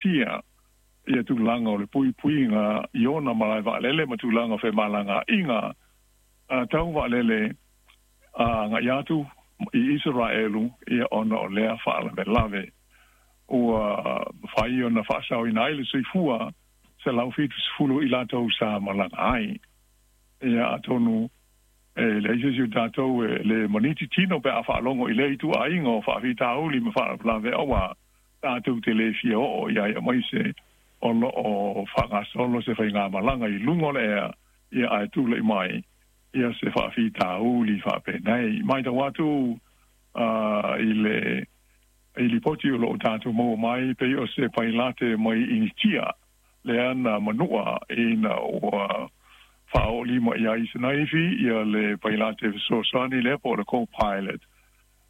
Tia ia tulaga o le puipuiga i ona malae vaalele ma tulaga o femalagaaiga tau vaalele agai atu i Isaraelu, ia ona o lea faalavelave ua mafai ona faasaoina ai le soifua 170 i latou sa malaga ai. Ia atonu e leai se isi o tatou e le maniti tino pe a faalogo i lea ituaiga o faafitauli ma faalavelave auā tatou te le fia oo i ai aemaise o lo o faagasolo se faigamalaga i luga o le ea, ia ae tulai mai ia se faafitauli faapenei. Matau atu i le i lipoti o lo o tatou maua mai pei o se pailate mai Initia lea na manua ina ua faaoolima i ai i se naifi ia le pailate fesoasoani lea po o le co-pilot.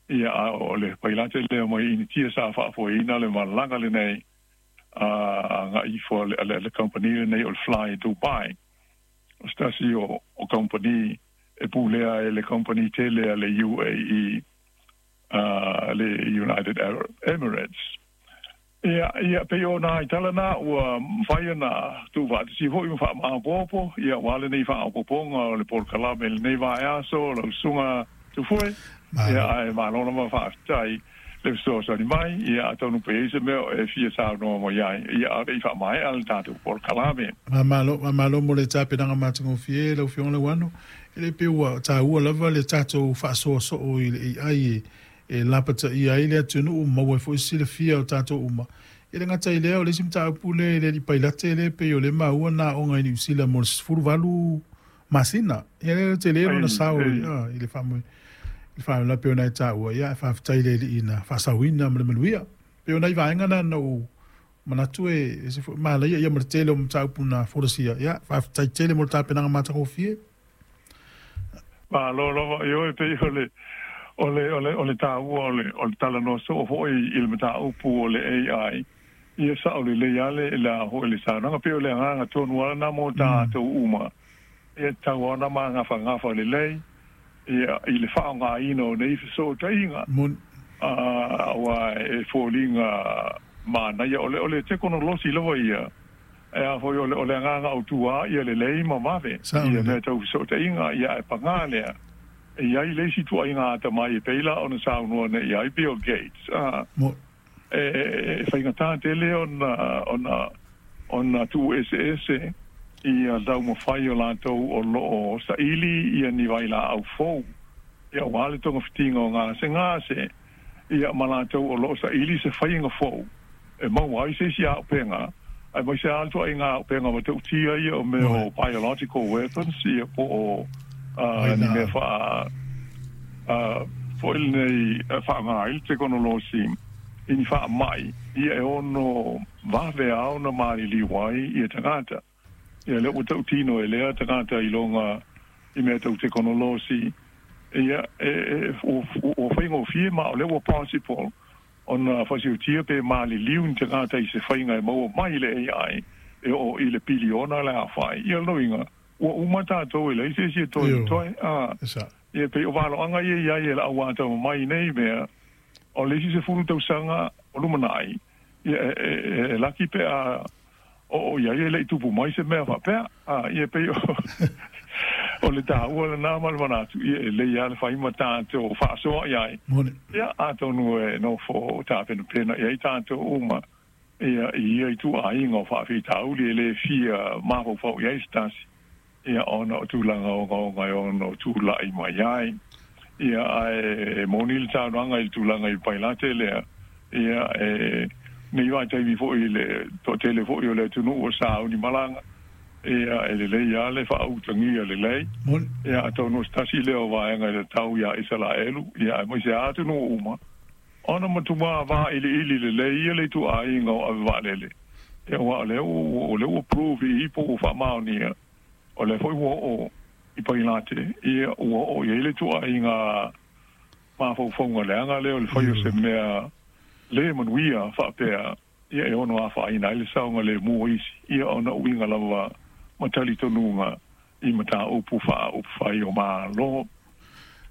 Ia, a o le pailate lea mai Initia sa faafoeina le malaga lenei a agai ifo a le kamupani lenei o le Fly Dubai. O se tasi o kamupani e pulea e le kamupani tele a le UAE, le United Arab Emirates. Ia, ia, pei o nai tala na ua mafai ona tuufaatasia foi ma faamaopoopo, ia, aua lenei faaopoopoga o le polokalame i lenei vaeaso, lau Susuga Tufue. Ia, ae malo lava faafetai le fesoasoani mai. Ia, atonu pe i ai se mea o e fia saunoa mai ai, ia, a o le i faamaea le tatou polokalame. Faamalo, faamalo mo le tapenaga matagofie lau Afioga Lauano. E le pei ua taua lava le tatou faasoa soo i le AI e lapataia ai le atunuu, maua ai foi se silafia o tatou uma. E le gata i lea, o le isi mataupu lea i le alii pailate lea pei o lea maua na aoga i Niu Sila mo le 18 masina. Ia lea tele lona sao i le faamoe i le faalavelave pei ona e taua, ia ae faafetai i le Alii na faasaoina ma le manuia. Pei o nai vaega na na ou manatu e ese foi manaia ia ma le tele o mataupu na folasia. Ia faafetai tele mo le tapenaga matagofie. Malo lava. Ioe, pei o le o le o le o le taua o le o le talanoa soo foi i le mataupu o le AI, ia sao lelei lava le le a foi le saunoaga. Pei o le agaga tonu lava lena mo tatou uma, ia tatau lava ona magafagafa lelei ia i le faaaogaina o nei fesootaiga, aua e foliga manaia o le o le tekonolosi lava ia. E a foi, o le, o le agaga autū lava ia lelei ma vave ia mea tau fesootaiga, ia ae pagā lea, e i ai le isi ituaiga atamai e pei la ona saunoa nei i ai Bill Gates, a, e, e faigata tele ona, ona, ona tuueseese ia taumafai o latou o lo o saili ia ni vailaau fou, ia aua le togafitiga o gasegase, ia ma latou o lo o saili se faiga fou e maua ai se isi auupega, aemaise lava le ituaiga auupega matautia ia o mea o biological weapons, ia po o ni mea faa foi lenei faaaoga ai le tekonolosi i ni faamai, ia e ono vave lava ona maliliu ai ia tagata. Ia lea ua tautino e lea tagata iloga i mea tau tekonolosi, ia e, e, ua faigofie ma o lea ua possible ona fasiutia pe maliliu ni tagata i se faiga e maua mai le AI e oo i le piliona le aofai. Ia lona uiga, ua uma tatou e leai se isi e toe totoe. A, ia pei o valoaga ia i ai e le au atamamai i nei mea, o le isi 10 tausaga o lumanai, ia e laki pe a oo i ai e le i tupu mai se mea faapea. A, ia pei o, o le taua lena ma le manatu, ia e lelei lava le fai ma tatou faasoa i ai. Ia, atonu e nofo tapenapena i ai tatou uma, ia, i ia ituaiga o faafitauli e le fia mafaufau i ai se tasi, ia, ona o tulaga ogaoga e ono tulai mai ai. Ia, ae moni le saunoaga i le tulaga i Pailate lea, ia, e nei vaitaimi foi i le toatele foi o le atunuu o sauni malaga, ia, e lelei lava le faautagia lelei. Ia, atonu o se tasi lea o vaega e tatau iā Isalaelu, ia, aemaise lava atunuu uma, ona matua vailiili lelei ia le ituaiga o ave vaalele, ia, aua o lea ua, o lea ua prove i i po ua faamaonia, o lea foi ua oo i Pailate, ia, ua oo i ai le ituaiga mafaufauga leaga lea o le fai o se mea le manuia faapea, ia, e ono afaina ai le saogalemu o isi, ia, ona uiga lava ma talitonuga i mataupu faaupufai o Malo.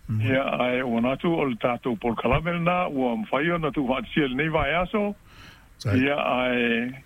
Ia, ae ua manatu o le tatou polokalame lena ua mafai ona tuufaatasia i lenei vaiaso. Ia, ae